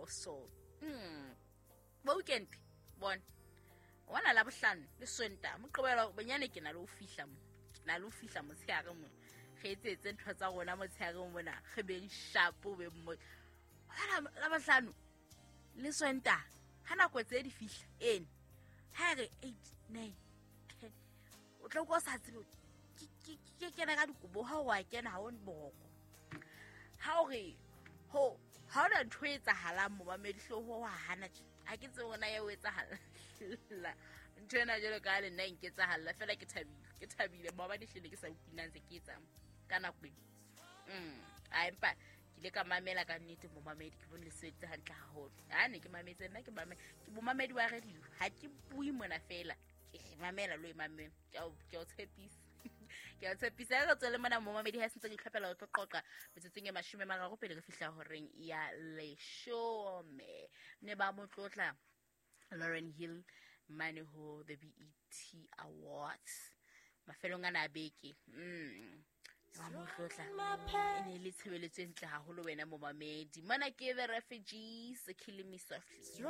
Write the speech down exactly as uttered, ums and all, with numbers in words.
phoso. Mm. Bo weekend bona ona la bohlano le Sontaha, Moqebelo bonyane ke na le ho fihla mo, ke na le ho fihla motshehare mo, re etsetse ntho tsa rona motshehare mona, re beng sharp, beng mo hona la bohlano le Sontaha ha nako tse di fihla ene ha re eight nine ten o tla utlwa o sa tsebe ke ke ke kena ka dikobo, ha o a kena ha o boroko, ha o re ho ha ona ntho e etsahalang momamedi hlooho wa hana tje. Ha ke tsebe hore na ya o etsahalla ntho ena jwalo ka ha le nna e nketsahalla fela. Ke thabile, ke thabile maobane hlile ke sa utlwe nna ntse ke etsang ka nako e. Mm a empa ke ile ka mamela ka nnete momamedi, ke bone le sebeditse hantle haholo. Ha ne ke mametse nna ke mame ke momamedi wa radio, ha ke bue mona fela, ke mamela lo e mamela, ke a o ke a o tshepisa, ke a tshepisa. Re tswele mona momamedi ha sentse ke itlhophela ho tlo qoqa metsotsong e mashome mararo pele re fihla horeng ya leshome. Ne ba mo tlotla Lauren Hill mane ho the B E T Awards mafelong ana a beke. mm wa mo tlotla, e ne e le tshebeletso e ntle haholo wena momamedi. Mona ke The Refugees, Killing Me Softly.